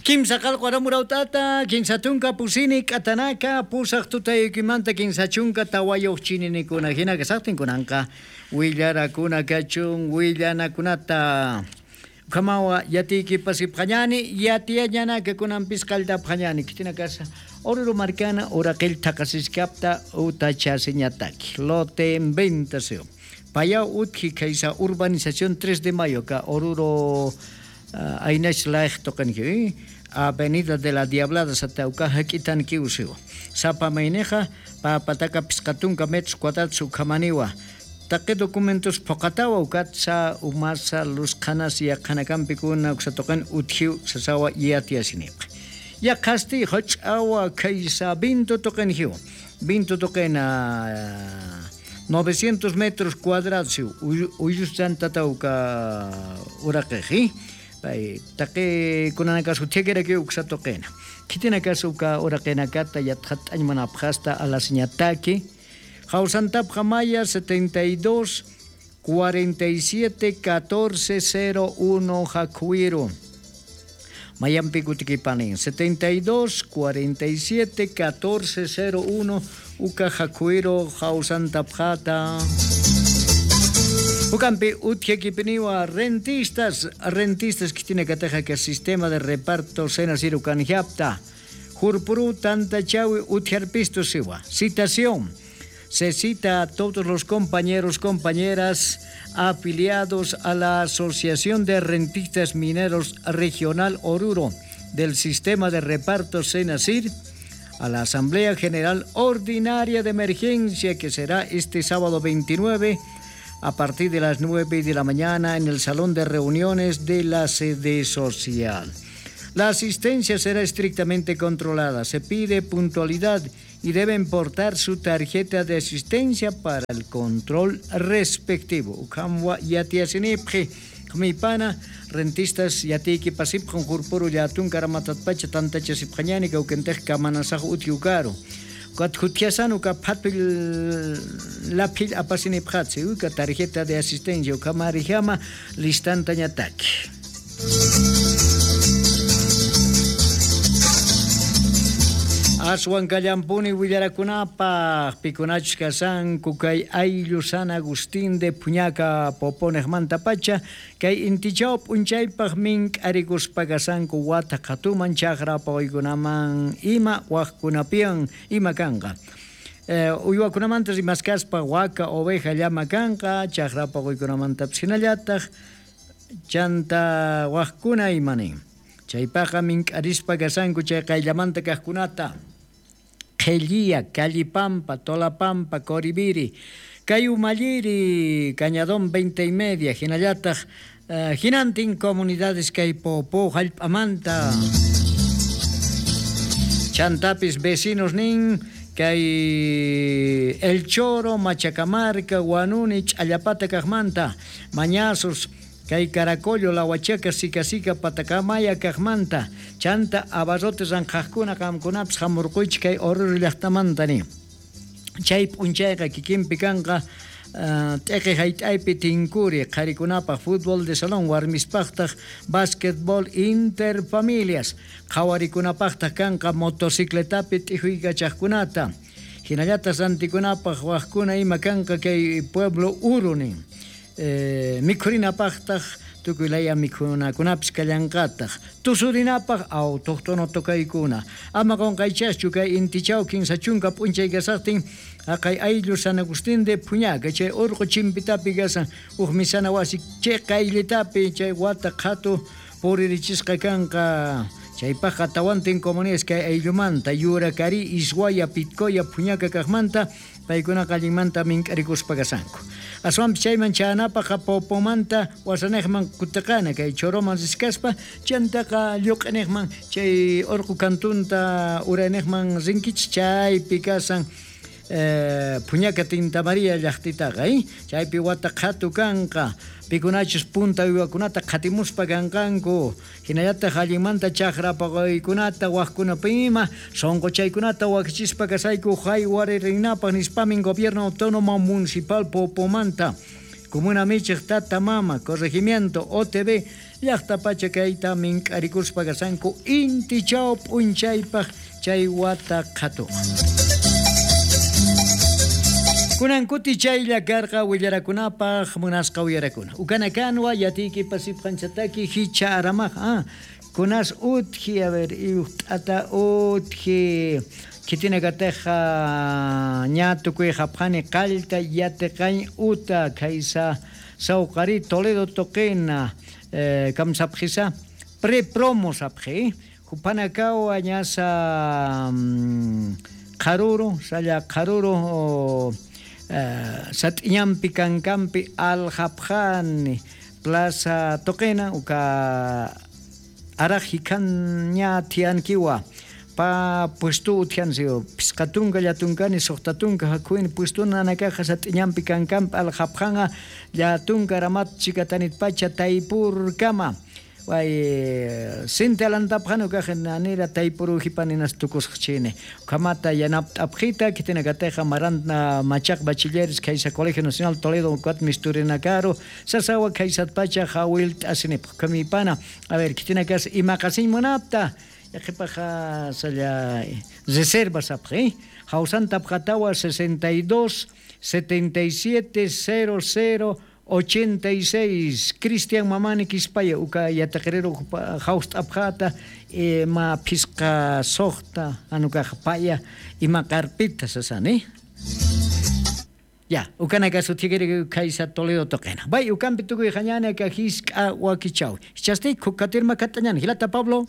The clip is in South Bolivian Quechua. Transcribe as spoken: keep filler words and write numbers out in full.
Kimsa qalqu aramurautata, kinsa tunka pusini k'atanaka, pusaq tutaykimanta kinsa chunka tawayuq chininikuna hina kasaqtinkunanqa willarakuna kachun willanakunata. Kamawa yatiykipas ipqañani, yatiyañanaka kunanpis qalltapqañani kitina kasa Oruro marcana uraqil thaqasiskapta utachasiñataki lote en venta seo. Payao utji kaysa urbanización tres de mayo ka Oruro uh, aynash laej toqanki Avenida de la Diablada satauka hakitan kiuseo. Sapa maineja papataka pisqatunka metros cuadrados ukamaniwa. Taqi documentos poqatawa ukatsa umasa lusqanas yaqhanakanpikuna uksatoqan utjiw sasawa yatiasiniq. Yaqhasti hoch'awa kaysa vinto toqanjiw. Vinto toqena novecientos metros cuadrados uyuschantatauka uraqeji. Pay taqi kunanakasu tiekeraki uksatoqena. Kitinakasuka uraqenakata yatqat'añmanapqasta alasiñataki. Jausantap Maya setenta y dos cuarenta y siete catorce cero uno Jacuiro. Mayampi Kutikipanin setenta y dos cuarenta y siete catorce cero uno Uka Jacuiro Jausantapjata. Ukampi utjekipiniwa rentistas, rentistas que tiene que que sistema de reparto Senasiru kanjiapta. Jurpuru tantachawi utjarpisto siwa. Citación. Se cita a todos los compañeros, compañeras afiliados a la Asociación de Rentistas Mineros Regional Oruro del Sistema de Reparto Senasir a la Asamblea General Ordinaria de Emergencia que será este sábado veintinueve a partir de las nueve de la mañana en el Salón de Reuniones de la sede social. La asistencia será estrictamente controlada. Se pide puntualidad y deben portar su tarjeta de asistencia para el control respectivo. Ukamwa yatiasinipji, kmipana, rentistas yatiki pasipjon jurpuru yatun karamatatpacha tantachasipjañani kaukentej kamanasaj utiukaru. Katjutiasanu ka patpil lapil apasinipjatsi, uka tarjeta de asistencia ukamarijama listantañataki. Aswan kallampuni willarakunapaq pikunachus kasanku kay ayllu San Agustín de Puñaca Poponejmanta pacha kay intichaw p'unchaypaq mink'arikuspa kasanku wata qhatuman chaqra pawaykunaman ima waqkunapiwan ima kanqa. Eh, uywakunamanta rimaskaspa waka oveja llama kanqa chaqra pawaykunamantapis hinallataq chanta waqkuna imanin. Chaypaqa mink'arispa kasanku chay qayllamanta kaqkunata. Qhellía, Callipampa, Tolapampa, Coribiri, Cayumalliri, Cañadón veinte y media, hinallataq, uh, hinantin comunidades kay Popó, Jallp'amanta. Chantapis vecinos nin, kay El Choro, Machacamarca, Guanuni, Ch'allapata kaqmanta, Mañazos, kay Caracollo, La Huachaca, Sicasica, Patacamaya, kaqmanta, chanta abarrotes ranqhaqkuna qamkunapis hamurquychik kay Oruro llaqtamanta ni. Chay p'unchayqa kikinpi kanqa uh, t'eqi hayt'aypi tinkuri qharikunapaq fútbol de salón warmispaqtaq básquetbol interfamilias qhawarikunapaqtaq kanqa motocicletapi t'ijuykachaqkunata hinallataq rantikunapaq waqkuna ima kanqa kay pueblo Uru nin. Eh, mikhurinapaqtaq tukuy laya mikhunakunapis kallanqataq tusurinapaq autóctono tokaykuna ama qunqaychaschu kay intichaw kinsa chunka p'unchay kasaqtin haqay ayllu San Agustín de Puñaca chay urqu chimpitapi kasan uj misana wasi chay qayllitapi chay wata qhatu puririchisqa kanqa chaypaqqa tawantin comunidades kay ayllumanta Yuracari, Ishuaya, Pitcoya, Puñaca kaqmanta paykunaqa allinmanta mink'arikuspa kasanku. Aswanpis chayman chanapaq Popomanta wasanejman kutiqana kay Choroman riskaspa chantaqa lluq'inejman chay urqu kantunta uranejman rinkichik chaypi kasan eh, Puñaca Tinta María llaqtitaqa eh? Chaypi wata qhatu kanqa pikunachus punta uywakunata qhatimuspa kanqanku hinallataq allinmanta chaqra paqaykunata waqkunapi ima sunquchaykunata wakichispa kasayku haywarirrinapaq nispamin Gobierno Autónomo Municipal Popomanta Comuna Michiq Tata Mama Corregimiento O T B Llaqtapacha kayta mink'arikuspa kasanku intichaw p'unchaypaq chay wata qhatuqa. Kunan kuti chaylla karqa willarakunapaq munasqa uyarakuna. Ukanakanwa yatiyki pasipqanchataki hicha aramaq ah kunas utji a ver iuqt'ata utji kitina kateja ña tukuy hapjani qallta yatiqañ uta kaysa sawqari Toledo toqena eh, kamsapjisa pre-promo sapji jupanakawa ñasa qaruru salla qaruru eh, sat'iñampi kankampi aljapjani plaza toqena uka araj hikan ña tiankiwa pa puesto uthiansio pisqatunka llatunkani suqtatunka hakuin puesto nanakaja sat'iñampi kankampi aljapjanga llatunka ramat chikatanitpacha taypurkama way sinti alantapjanu kaja nanira taypuru hipaninas tukusqchini kamata yanapt'apjita kitinakateja marantna machaq bachilleres kaysa Colegio Nacional Toledo kuat misturinakaru sasawa kaysatpacha jawilt'asinipaq kamipana a ver kitinakas imaqasin munapta yaqipaja salla reservas apji jawsantapjatawa sesenta y dos setenta y siete cero cero ochenta y seis Cristian Mamani Quispaya uka yataqerero jawst'apjata ma phisqa suqta anukaja paya ima carpita sasani ya ukanaka suthiqiri kaysa Toledo toqena bay ukampi tukuy jañana ka hisk'a wakichaw hichasti khukatirma katañani hilata Pablo.